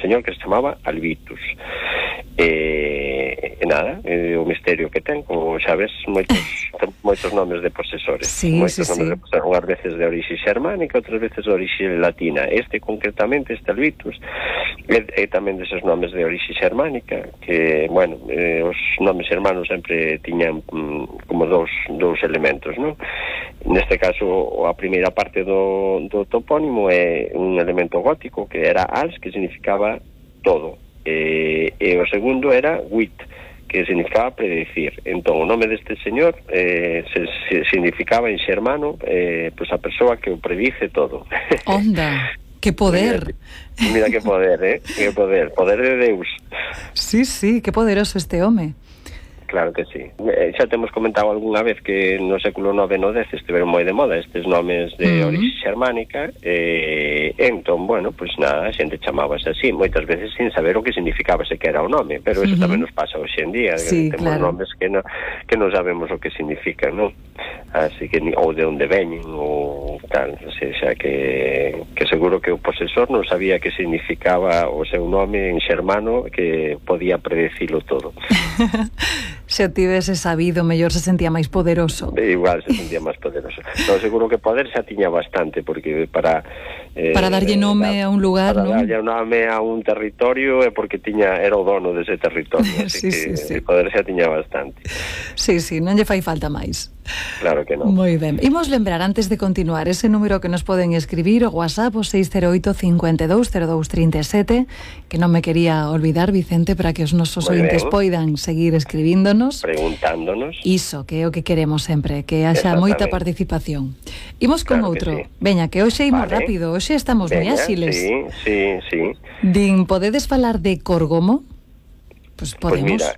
señor que se chamaba Albitus. E nada, o misterio que ten, como xa ves, moitos nomes de posesores. Nomes de posesores, unhas veces de orixe xermánica, outras veces de orixe latina. Concretamente, este Albitus, é tamén deses nomes de orixe xermánica, que, bueno, os nomes xermanos sempre tiñan como dous elementos, non? Neste caso, a primeira parte do topónimo é un elemento gótico, que era als, que significaba todo. E o segundo era wit, que significaba predecir. Entón, o nome deste señor significaba en xermano pues a persoa que o predice todo. Onda, que poder. Mira que poder, que poder de Deus. Sí, que poderoso este home. Claro que sí. Xa temos comentado algunha vez que no século IX e no X estiveron moi de moda estes nomes de orixe xermánica, entón, bueno, pois nada, a xente chamábase así, moitas veces sin saber o que significaba sequera o nome, pero eso tamén nos pasa hoxe en día, sí, temos nomes que non sabemos o que significan, non? Así que, ou de onde veñen, ou tal, o sea, que seguro que o posesor non sabía que significaba o seu nome en xermano, que podía predecilo todo. Se tivese sabido, mellor se sentía máis poderoso. Igual se sentía máis poderoso. No, seguro que poder xa tiña bastante, porque para darlle nome a un lugar, para non? darlle nome a un territorio é porque era o dono dese territorio, así que poder xa tiña bastante. Sí, non lle fai falta máis. Claro que non. Moi ben. Imos lembrar, antes de continuar, ese número que nos poden escribir, o WhatsApp, o 608 52 02 37, que non me quería olvidar, Vicente, para que os nosos ointes poidan seguir escribíndonos, preguntándonos. Iso, que é o que queremos sempre, que haxa moita participación. Imos con outro. Veña, que hoxe imos rápido, hoxe estamos moi áxiles. Sí. Din, podedes falar de Córgomo? Pues podemos. Pues mira,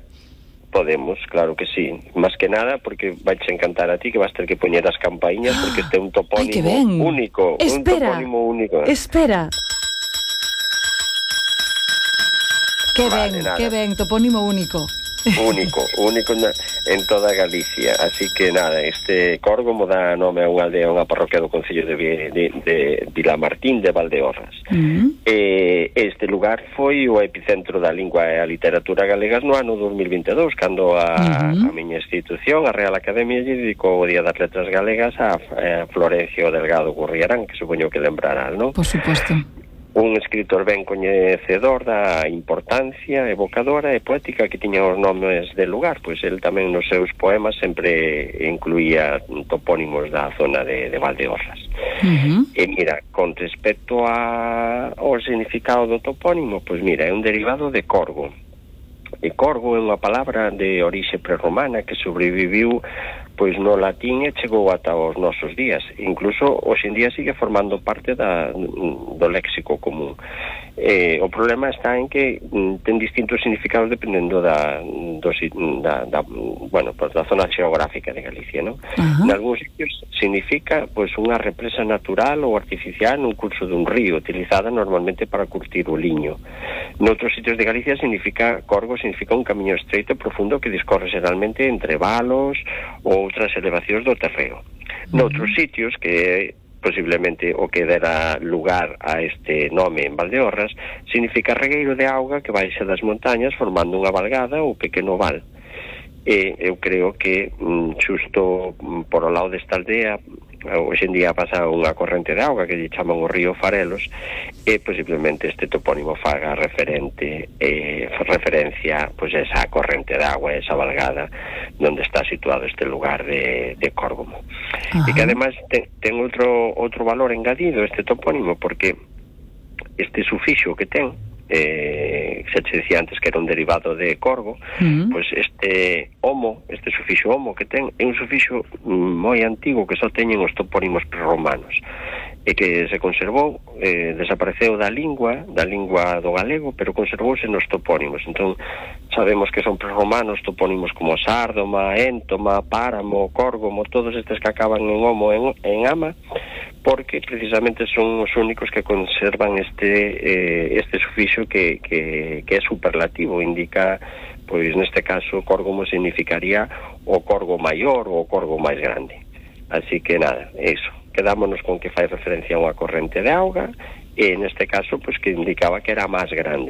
podemos, claro que sí. Más que nada porque vais a encantar a ti, que vas a ter que poñer as campaíñas, porque este é un topónimo único. Espera, un topónimo único. Espera. Que ben, topónimo único. Único en toda Galicia. Así que nada, este Córgomo dá nome a unha aldea, unha parroquia do concello de Vilamartín de Valdeorras. Este lugar foi o epicentro da lingua e a literatura galegas no ano 2022, cando a miña institución, a Real Academia, lle dedicou o Día das Letras Galegas a Florencio Delgado Gurriarán, que supoño que lembrarán, non? Por suposto. Un escritor ben coñecedor da importancia evocadora e poética que tiña os nomes del lugar, pois el tamén nos seus poemas sempre incluía topónimos da zona de Valdeorras. E mira, con respecto ao significado do topónimo, pois mira, é un derivado de corgo. E corgo é unha palabra de orixe prerromana que sobreviviu pois no latín e chegou ata os nosos días. Incluso hoxe en día sigue formando parte do léxico común. O problema está en que ten distintos significados dependendo da zona xeográfica de Galicia, non? En algúns sitios significa pois unha represa natural ou artificial nun curso dun río, utilizada normalmente para curtir o liño. Noutros sitios de Galicia corgo significa un camiño estreito e profundo que discorre xeralmente entre valos ou outras elevacións do terreo. Noutros sitios, que é posiblemente o que dera lugar a este nome en Valdeorras, significa regueiro de auga que baixa das montañas formando unha valgada ou pequeno val. E eu creo que xusto por o lado desta aldea hoxe en día pasa unha corrente de auga que lle chaman o río Farelos, e posiblemente este topónimo faga referencia pois a esa corrente de agua, esa valgada onde está situado este lugar de Córgomo. E que ademais ten outro valor engadido este topónimo, porque este sufixo que ten, se te decía antes que era un derivado de corgo, pois este sufixo homo que ten é un sufixo moi antigo que só teñen os topónimos prerromanos e que se conservou, desapareceu da lingua do galego, pero conservouse nos topónimos. Entón sabemos que son prerromanos topónimos como Sárdoma, Éntoma, Páramo, Córgomo, todos estes que acaban en homo en ama, porque precisamente son os únicos que conservan este sufixo que é superlativo, indica, pois neste caso Córgomo significaría o corgo maior ou o corgo máis grande. Así que nada, eso, quedámonos con que fai referencia a unha corrente de auga e neste caso pois que indicaba que era máis grande.